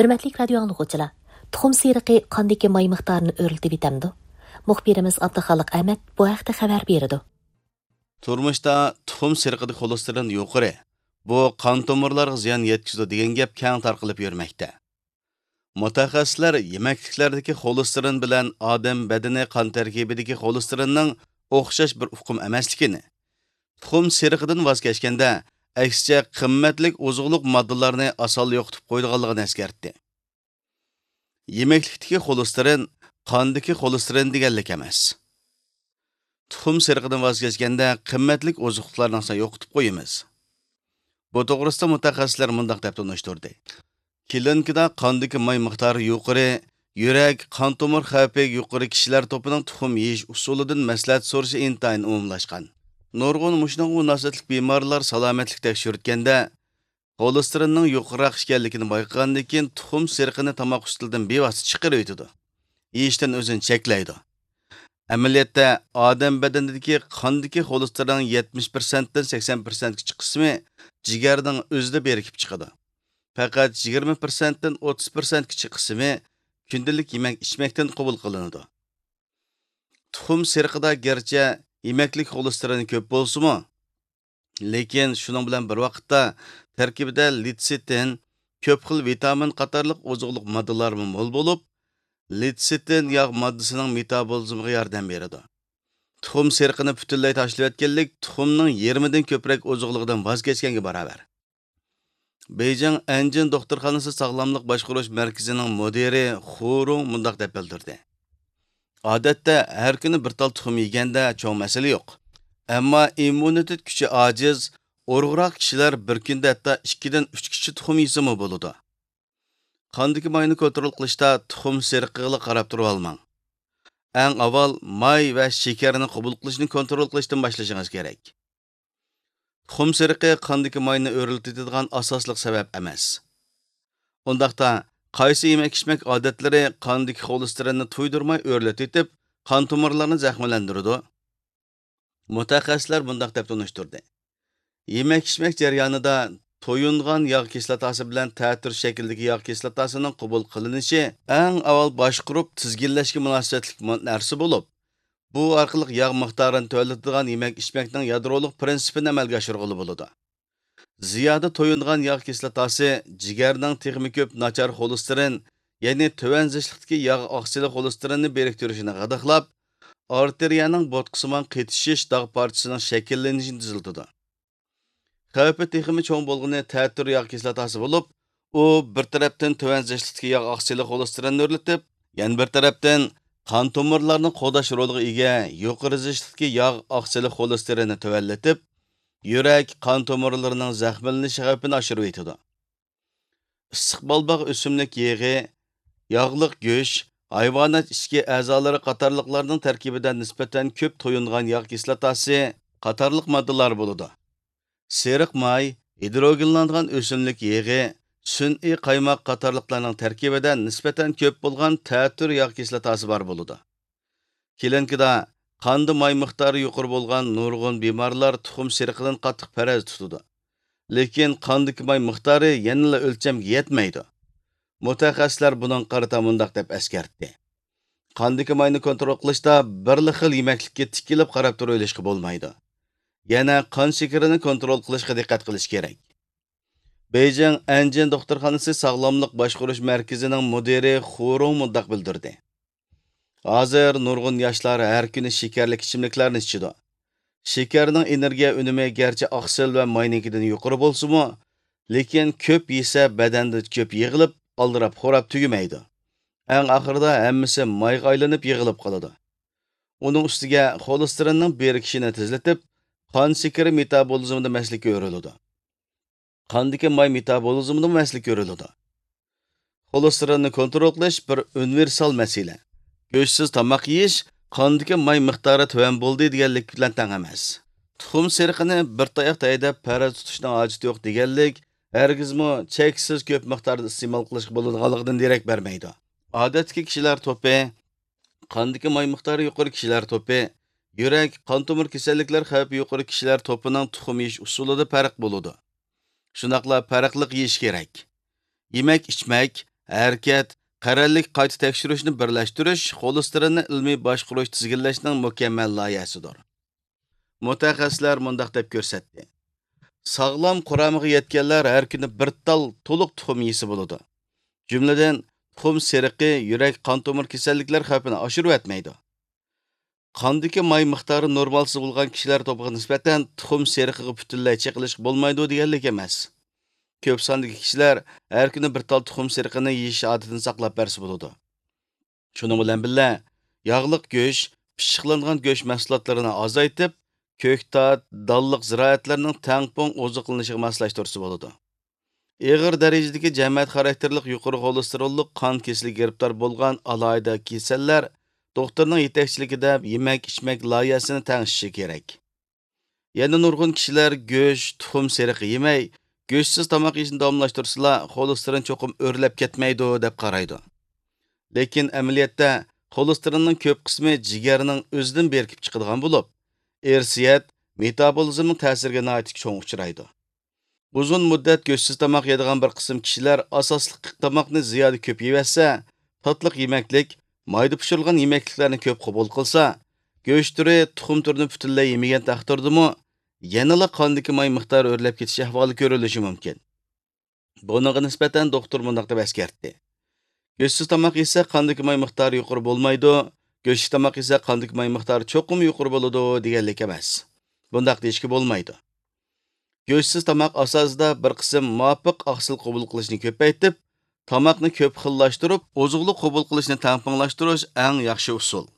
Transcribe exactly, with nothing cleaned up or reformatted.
ھۆرمەتلىك رادىيو ئاڭلىغۇچىلار، تۇخۇم سېرىقى قاندىكى ماي مىقدارىنى ئۆرلىتىۋېتەمدۇ؟ مۇخبىرىمىز ئابدۇخالىق ئەمەت بۇ ھەقتە خەۋەر بېرىدۇ. تۇرمۇشتا تۇخۇم سېرىقىدىكى خولېستېرىن يۇقىرى، بۇ قان تومۇرلارغا زىيان يەتكۈزىدۇ دېگەن گەپ كەڭ تارقىلىپ يۈرمەكتە. مۇتەخەسسىسلەر يېمەكلىكلەردىكى خولېستېرىن بىلەن ئادەم بەدىنى قان تەركىبىدىكى خولېستېرىننىڭ ئوخشاش بىر ئۇقۇم ئەمەسلىكىنى، تۇخۇم سېرىقىدىن ۋاز كەچكەندە، ئەكسىچە قىممەتلىك ئوزۇقلۇق ماددىلارنى ئاسانلا يوقىتىپ قويىدىغانلىقىنى ئەسكەرتتى. يېمەكلىكتىكى خولېستېرىن قاندىكى خولېستېرىن دېگەنلىك ئەمەس. تۇخۇم سېرىقىدىن ۋاز كەچكەندە، قىممەتلىك ئوزۇقلۇقلارنى ئاسان يوقىتىپ قويىمىز. بۇ توغرىسىدا مۇتەخەسسىسلەر مۇنداق دەپ تونۇشتۇردى: كلىنىكىدا قاندىكى ماي مىقدارى يۇقىرى، يۈرەك، قان تومۇر خەۋپى يۇقىرى كىشىلەر توپىنىڭ تۇخۇم يېيىش ئۇسۇلىدىن مەسلىھەت سورىشى ئىنتايىن ئومۇملاشقان. نۇرغۇن مۇشۇنىڭغا مۇناسىۋەتلىك بىمارلار سالامەتلىك تەكشۈرتكەندە، خولېستېرىننىڭ يۇقىرىراق ئىكەنلىكىنى بايقىغاندىن كېيىن، تۇخۇم سېرىقىنى تاماق ئۈستىلىدىن بىۋاسىتە چىقىرىۋېتىدۇ. يېيىشتىن ئۆزىنى چەكلەيدۇ. ئەمەلىيەتتە، ئادەم بەدىنىدىكى قاندىكى خولېستېرىننىڭ يەتمىش پىرسەنتتىن سەكسەن پىرسەنتكىچە قىسمى جىگەرنىڭ ئۆزىدە بىرىكىپ چىقىدۇ. پەقەت يىگىرمە پىرسەنتتىن ئوتتۇز پىرسەنتكىچە قىسمى كۈندىلىك يېمەك-ئىچمەكتىن قوبۇل قىلىنىدۇ. تۇخۇم سېرىقىدا گەرچە يېمەكلىك خولېستېرىنى كۆپ بولسىمۇ، لېكىن شۇنىڭ بىلەن بىر ۋاقىتتا تەركىبىدە لېتسىتىن، كۆپ خىل ۋىتامىن قاتارلىق ئوزۇقلۇق ماددىلارمۇ مول بولۇپ، لېتسىتىن ياغ ماددىسىنىڭ مېتابولىزمىغا ياردەم بېرىدۇ. تۇخۇم سېرىقىنى پۈتۈنلەي تاشلىۋەتكەنلىك تۇخۇمنىڭ يېرىمىدىن كۆپرەك ئوزۇقلۇقىدىن ۋاز كەچكەنگە باراۋەر. بېيجىڭ ئەنجىن دوختۇرخانىسى ساغلاملىق باشقۇرۇش مەركىزىنىڭ مۇدىرى خۇ رۇڭ مۇنداق دەپ بىلدۈردى: ئادەتتە ھەر كۈنى بىر تال تۇخۇم يېگەندە چوڭ مەسىلە يوق. ئەمما ئىممۇنىتېت كۈچى ئاجىز، ئورۇقراق كىشىلەر بىر كۈندە ھەتتا ئىككىدىن ئۈچ كىشى تۇخۇم يېسىمۇ بولىدۇ. قاندىكى ماينى كونترول قىلىشتا تۇخۇم سېرىقىغىلا قاراپ تۇرۇۋالماڭ. ئەڭ ئاۋۋال ماي ۋە شېكەرنى قوبۇل قىلىشنى كونترول قىلىشتىن باشلىشىڭىز كېرەك. تۇخۇم سېرىقى قاندىكى ماينى ئۆرلىتىدىغان ئاساسلىق سەۋەب ئەمەس. ئۇنداقتا، قايسى يېمەك-ئىچمەك ئادەتلىرى قاندىكى خولېستېرىننى تۇيدۇرماي ئۆرلىتىۋېتىپ، قان تومۇرلارنى زەخىملەندۈرىدۇ؟ مۇتەخەسسىسلەر مۇنداق دەپ تونۇشتۇردى: يېمەك-ئىچمەك جەريانىدا تويۇنغان ياغ كىسلاتاسى بىلەن تەتۈر شەكىلدىكى ياغ كىسلاتاسىنىڭ قوبۇل قىلىنىشى ئەڭ ئاۋۋال باشقۇرۇپ تىزگىنلەشكە مۇناسىۋەتلىك مۇ-، نەرسە بولۇپ، بۇ ئارقىلىق ياغ مىقدارىنى تۆۋەنلىتىدىغان يېمەك-ئىچمەكنىڭ يادرولۇق پىرىنسىپىنى ئەمەلگە ئاشۇرغىلى بولىدۇ. زىيادە تويۇنغان ياغ كىسلاتاسى جىگەرنىڭ تېخىمۇ كۆپ ناچار خولېستېرىن، يەنى تۆۋەن زىچلىقتىكى ياغ ئاقسىلى خولېستېرىننى بىرىكتۈرۈشىنى غىدىقلاپ، ئارتېرىيەنىڭ بوتقىسىمان قېتىشىش داغ پارچىسىنىڭ شەكىللىنىشىنى تېزلىتىدۇ. خەۋپى تېخىمۇ چوڭ بولغىنى تەتۈر ياغ كىسلاتاسى بولۇپ، ئۇ بىر تەرەپتىن تۆۋەن زىچلىقتىكى ياغ ئاقسىلى خولېستېرىننى ئۆرلىتىپ، يەنە بىر تەرەپتىن قان تومۇرلارنى قوغداش رولىغا ئىگە يۇقىرى زىچلىقتىكى ياغ ئاقسىلى خولېستېرىننى تۆۋەنلىتىپ، يۈرەك، قان تومۇرلىرىنىڭ زەخىملىنىش خەۋپىنى ئاشۇرۇۋېتىدۇ. ئىسسىق بەلباغ ئۆسۈملۈك يېغى، ياغلىق گۆش، ھايۋانات ئىچكى ئەزالىرى قاتارلىقلارنىڭ تەركىبىدە نىسبەتەن كۆپ تويۇنغان ياغ كىسلاتاسى قاتارلىق ماددىلار بولىدۇ. سېرىق ماي، ھىدروگېنلانغان ئۆسۈملۈك يېغى، سۈنئىي قايماق قاتارلىقلارنىڭ تەركىبىدە نىسبەتەن كۆپ بولغان تەتۈر ياغ كىسلاتاسى بار بولىدۇ. كلىنىكىدا قاندا ماي مىقدارى يۇقىرى بولغان نۇرغۇن بىمارلار تۇخۇم سېرىقىدىن قاتتىق پەرەز تۇتىدۇ. لېكىن قاندىكى ماي مىقدارى يەنىلا ئۆلچەمگە يەتمەيدۇ. مۇتەخەسسىسلەر بۇنىڭغا قارىتا مۇنداق دەپ ئەسكەرتتى: قاندىكى ماينى كونترول قىلىشتا بىرلا خىل يېمەكلىككە تىكىلىپ قاراپ تۇرۇۋېلىشقا بولمايدۇ. يەنە قان شېكىرىنى كونترول قىلىشقا دىققەت قىلىش كېرەك. بېيجىڭ ئەنجىن دوختۇرخانىسى ساغلاملىق باشقۇرۇش مەركىزىنىڭ مۇدىرى خۇ رۇڭ مۇنداق بىلدۈردى: ھازىر نۇرغۇن ياشلار ھەر كۈنى شېكەرلىك ئىچىملىكلەرنى ئىچىدۇ. شېكەرنىڭ ئېنېرگىيە ئۈنۈمى گەرچە ئاقسىل ۋە ماينىڭكىدىن يۇقىرى بولسىمۇ، لېكىن كۆپ يېسە بەدەندە كۆپ يىغىلىپ، ئالدىراپ خوراپ تۈگىمەيدۇ. ئەڭ ئاخىرىدا ھەممىسى مايغا ئايلىنىپ يىغىلىپ قالىدۇ. ئۇنىڭ ئۈستىگە خولېستېرىننىڭ بىرىكىشىنى تېزلىتىپ، قان شېكىرى مېتابولىزمىدا مەسىلە كۆرۈلىدۇ. قاندىكى ماي مېتابولىزمىدىمۇ مەسىلە كۆرۈلىدۇ. خولېستېرىننى كونترول قىلىش بىر ئۇنىۋېرسال مەسىلە. گۆشسىز تاماق يېيىش قاندىكى ماي مىقدارى تۆۋەن بولدى دېگەنلىك بىلەن تەڭ ئەمەس. تۇخۇم سېرىقىنى بىر تاياقتا ھەيدەپ پەرەز تۇتۇشنىڭ ھاجىتى يوق دېگەنلىك ھەرگىزمۇ چەكسىز كۆپ مىقداردا ئىستېمال قىلىشقا بولىدىغانلىقىدىن دېرەك بەرمەيدۇ. ئادەتتىكى كىشىلەر توپى، قاندىكى ماي مىقدارى يۇقىرى كىشىلەر توپى، يۈرەك، قان تومۇر كېسەللىكلەر خەۋپى يۇقىرى كىشىلەر توپىنىڭ تۇخۇم يېيىش ئۇسۇلىدا پەرق بولىدۇ. شۇنداقلا پەرقلىق يېيىش كېرەك. يېمەك-ئىچمەك، ھەرىكەت، قەرەللىك قايتا تەكشۈرۈشنى بىرلەشتۈرۈش خولېستېرىننى ئىلمىي باشقۇرۇش، تىزگىنلەشنىڭ مۇكەممەل لايىھەسىدۇر. مۇتەخەسسىسلەر مۇنداق دەپ كۆرسەتتى: ساغلام قۇرامىغا يەتكەنلەر ھەر كۈنى بىر تال تولۇق تۇخۇم يېسە بولىدۇ. جۈملىدىن، تۇخۇم سېرىقى يۈرەك، قان تومۇر كېسەللىكلەر خەۋپىنى ئاشۇرۇۋەتمەيدۇ. قاندىكى ماي مىقدارى نورمالسىز بولغان كىشىلەر توپىغا نىسبەتەن تۇخۇم سېرىقىغا پۈتۈنلەي چېقىلىشقا بولمايدۇ دېگەنلىك ئەمەس. كۆپ ساندىكى كىشىلەر ھەر كۈنى بىر تال تۇخۇم سېرىقىنى يېيىش ئادىتىنى ساقلاپ بەرسە بولىدۇ. شۇنىڭ بىلەن بىللە، ياغلىق گۆش، پىششىقلانغان گۆش مەھسۇلاتلىرىنى ئازايتىپ، كۆكتات، دانلىق زىرائەتلەرنىڭ تەڭپۇڭ ئوزۇقلىنىشىغا ماسلاشتۇرسا بولىدۇ. ئېغىر دەرىجىدىكى جەمەت خاراكتېرلىك يۇقىرى خولېستېروللۇق قان كېسىلىگە گىرىپتار بولغان ئالاھىدە كېسەللەر دوختۇرنىڭ يېتەكچىلىكىدە يېمەك-ئىچمەك لايىھەسىنى تەڭشىشى كېرەك. يەنە نۇرغۇن كىشىلەر گۆش، تۇخۇم سېرىقى يېمەي، گۆشسىز تاماق يېيىشنى داۋاملاشتۇرسىلا، خولېستېرىن چوقۇم ئۆرلەپ كەتمەيدۇ، دەپ قارايدۇ. لېكىن ئەمەلىيەتتە خولېستېرىننىڭ كۆپ قىسمى جىگەرنىڭ ئۆزىدىن بېرىكىپ چىقىدىغان بولۇپ، ئىرسىيەت، مېتابولىزمنىڭ تەسىرىگە ناھايىتى چوڭ ئۇچرايدۇ. ئۇزۇن مۇددەت گۆشسىز تاماق يەيدىغان بىر قىسىم كىشىلەر ئاساسلىق تاماقنى زىيادە كۆپ يېيىۋەتسە، تاتلىق يېمەكلىك، مايدا پىشۇرۇلغان يېمەكلىكلەرنى كۆپ قوبۇل قىلسا، گۆش تۈرى، تۇخۇم تۈرىنى پۈتۈنلەي يېمىگەن تەقدىردىمۇ، يەنىلا قاندىكى ماي مىقدارى ئۆرلەپ كېتىش ئەھۋالى كۆرۈلۈشى مۇمكىن. بۇنىڭغا نىسبەتەن دوختۇر مۇنداق دەپ ئەسكەرتتى: گۆشسىز تاماق يېسە قاندىكى ماي مىقدارى يۇقىرى بولمايدۇ، گۆشلۈك تاماق يېسە قاندىكى ماي مىقدارى چوقۇم يۇقىرى بولىدۇ دېگەنلىك ئەمەس. بۇنداق دېيىشكە بولمايدۇ. گۆشسىز تاماق ئاساسىدا بىر قىسىم مۇۋاپىق ئاقسىل قوبۇل قىلىشنى كۆپەيتىپ، تاماقنى كۆپ خىللاشتۇرۇپ، ئوزۇقلۇق قوبۇل قىلىشنى تەڭپۇڭلاشتۇرۇش ئەڭ ياخشى ئۇسۇل.